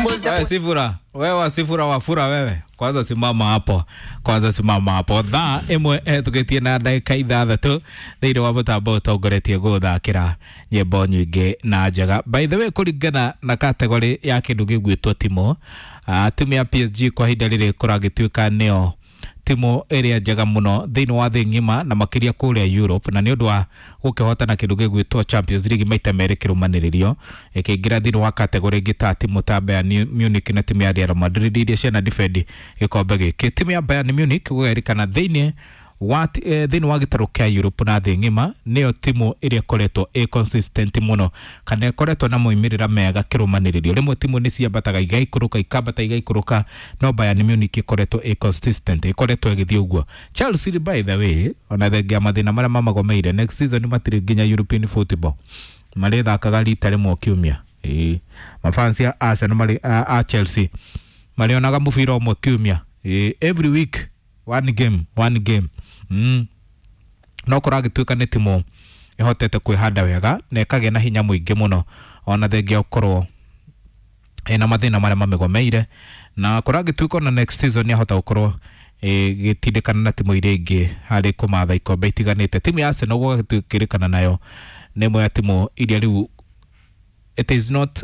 Wewe Sifura, wewe Sifura wafura wewe. Kwanza simama hapo. Kwanza simama hapo. Thaa ĩmwe ĩhetũkĩtie na ndagĩka 6 thĩinĩ wa mũtambo ũtongoretie gũthakĩra nyĩmbo nyingĩ na njega. By the way, kũringana na kategori ya kĩndũ gĩgwĩtwo timu, timu ya PSG kwa ihinda rĩrĩ kũragĩtuĩka nĩyo timu ĩrĩa njega mũno thĩinĩ wa thĩ ng'ima na makĩria kũrĩa Europe, na nĩ ũndũ wa gũkĩhotana kĩndũ gĩgwĩtwo Champions League maita merĩ kĩrũmanĩrĩrio, ĩkĩingĩra thĩinĩ wa kategori ĩngĩ ta timu ta Bayern Munich na timu ya Real Madrid iria ciana defend gĩkombe gĩkĩ. Timu ya Bayern Munich gũgerikana thĩinĩ wa thĩinĩ wa gĩtarũ kĩa Europe na thĩ ng'ima nĩyo timu ĩrĩa ĩkoretwo ĩ consistent mũno kana ĩkoretwo na moimĩrĩra mega kĩrũmanĩrĩrio. Rĩmwe timu nĩ ciambataga igaikũrũka, ikambata igaikũrũka, no Bayern Munich ĩkoretwo ĩ consistent, ĩkoretwo ĩgĩthiĩ ũguo. Chelsea, by the way, ona thengia mathĩna marĩa mamagomeire, next season matirĩ nginya European football, marĩthakaga rita rĩmwe kiumia. Ĩĩ, mafans a Arsenal marĩ a Chelsea marĩonaga mũbira ũmwe kiumia. Ĩĩ, every week one game, one game. No kũragĩtuĩka nĩ timu ĩhotete kwĩhanda wega na ĩkagĩa na hinya mũingĩ mũno ona thengia ũkorwo ĩna mathĩna marĩa mamĩgomeire, na kũragĩtuĩka ona next season nĩahota gũkorwo ĩgĩtindĩkana na timu iria ingĩ harĩ kũmatha ikombe itiganĩte. Timu ya Arsenal gũgagĩtuĩkĩrĩkana nayo nĩ ĩmwe ya timu iria rĩu it is not